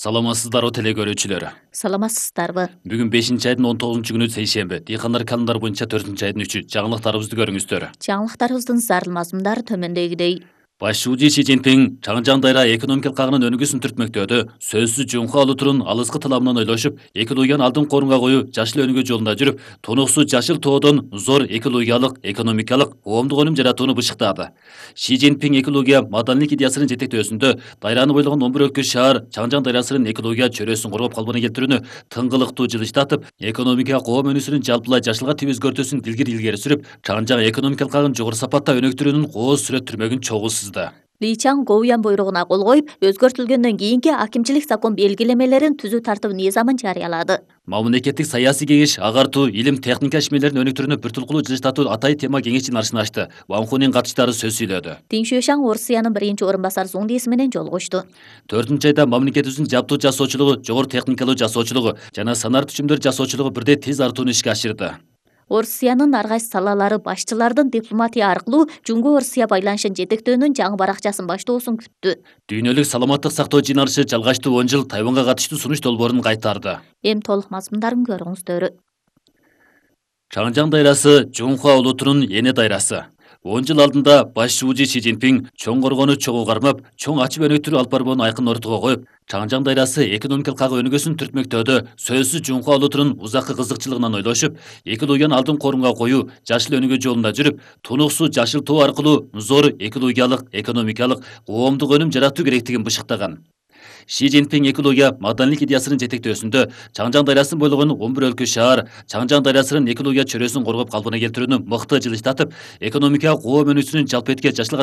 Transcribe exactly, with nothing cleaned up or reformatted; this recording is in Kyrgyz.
Саламатсыздарбы теле көрүүчүлөр. Саламатсыздарбы. Бүгүн бешинчи айдын он тогузунчу күнү сейшемби. Дыйкандар календар боюнча төртүнчү айдын үчү. Жаңылыктарыбызды көрүңүздөр. Жаңылыктарыбыздын зарыл мазмундары төмөндөгүдөй. Баш шүүжү Си Цзиньпин Чаңжаң дайра экономикалык кагынын өнүгүүсүн түртмөктөөдө сөзсүз Жунхуа Улуутунун алыскы тыламынан ойлошуп, эки Луяны алдын корунга коюу жашыл өнүгүү жолунда жүрүп, тунуксуз жашыл тоодон зор эки Луялык экономикалык коомдук өнүм жаратууну бышыктады. Си Цзиньпин эки Луя маданийлик идеясынын жетектөөсүндө дайраны бойлогон он бир өлкө шаар Чаңжаң дайрасынын эки Луя чөйрөсүн коргоп калпына келтирүүнү тыңгылыктуу жылыштатып, экономика коом өнүүсүнүн жалпылай жашылга тийип өзгөртүүсүн илгери илгери сүрүп, Чаңжаң экономикалык кагын жогору сапатта өнүктүрүүнүн кооз сүрөттөрмөгүн чогуу сызды. Ли Чаң Гоуян буйругуна кол коюп, өзгөртүлгөндөн кийинки акимчилик закон белгилемелерин түзүү тартып низамын жарыялады. Мамлекеттик саясий кеңеш агартуу, илим, техника ишмерлерин өнүктүрүүнү бир тулкулуу жылыштатуу атай тема кеңеш чыгарышын ачты. Ван Хунин катышчылары сөз сүйлөдү. Тин Шуйшаң Орусиянын биринчи орун басары Зуң Лиси менен жолугушту. төртүнчү айда мамлекетибиздин жабдуу жасоочулугу, жогору техникалуу жасоочулугу жана санар түчүмдөр жасоочулугу бирдей тез артууну ишке ашырды. Орусиянын ар кайсы салалары башчылардын дипломатия аркылуу Жуңгу Орусия байланышын жетектөөнүн жаңы баракчасын баштоосун күттү. Дүйнөлүк саламаттык сактоо жыйналышы жалгачтуу он жыл Тайванга катыштуу сунуш долбоорун кайтарды. Эми толук мазмундарын көрүңүздөр. Чаңжаң дайрасы Жунхуа Улуутунун эне дайрасы. он жыл алдында баш шүүжү Си Цзиньпин чоң коргоону чогуу кармап, чоң ачып өнүктүрүү алып барбоонун айкын ортого коюп, Чаңжаң дайрасы экономикалык кагы өнүгүүсүн түртмөктөөдө сөзсүз Жунхуа Улуутунун узаккы кызыкчылыгынан ойлошуп, эки Луяны алдын корунга коюу жашыл өнүгүү жолунда жүрүп, тунуксуз жашыл тоо аркылуу зор эки Луялык экономикалык коомдук өнүм жаратуу керектигин бышыктаган. Си Цзиньпин эки Луя маданийлик идеясынын жетектөөсүндө Чаңжаң дайрасын бойлогон он бир өлкө шаар Чаңжаң дайрасынын эки Луя чөйрөсүн коргоп калпына келтирүүнү мыкты жылыштатып, экономика коом өнүүсүнүн жалпы этке жашылга